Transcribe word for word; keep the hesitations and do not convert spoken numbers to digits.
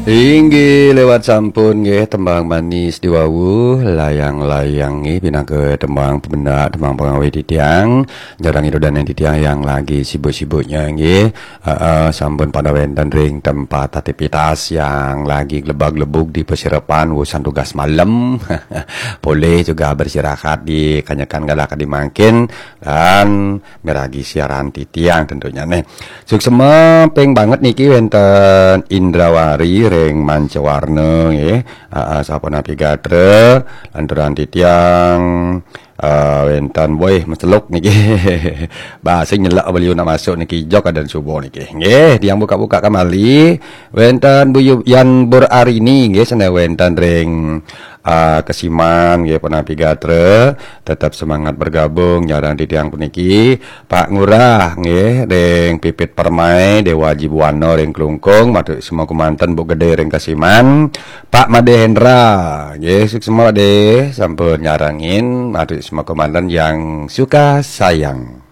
Inggih lewat sampun nggih tembang manis diwawu, layang-layang nggih pinangka tembang pemendak, tembang pengawit titiang, jarang idudan titiang yang lagi sibuk-sibuknya nggih. Heeh, sampun pada wenten ring tempat aktivitas yang lagi glebag-glebug di persiapan urusan tugas malam. Boleh juga beristirahat di kanyekan galah kadi mangkin dan miragi siaran titiang tentunya nih. Suksema ping banget niki wenten Indrawari ring Mancawarna nggih. Aa, sapunapi gatra, lanturan titiang, eh, wenten boih meseluk niki. Bah, sing nyelak beliau nak masuk niki jok adan subuh niki. Nggih, tiang buka-buka kembali. Wenten Bu Yu-, Yan Bur Arini nggih, sane wenten ring, eh, Kesiman nggih, punapi gatra. Tetap semangat bergabung nyarang titiang puniki. Pak Ngurah nggih, ring Pipit Permai, Dewa Jibuana ring Klungkung, matur semua kemanten Bu Gede ring Kesiman. Pak Made Hendra nggih, suksema Made, sampun nyarengin, matur semua kemanten yang suka sayang.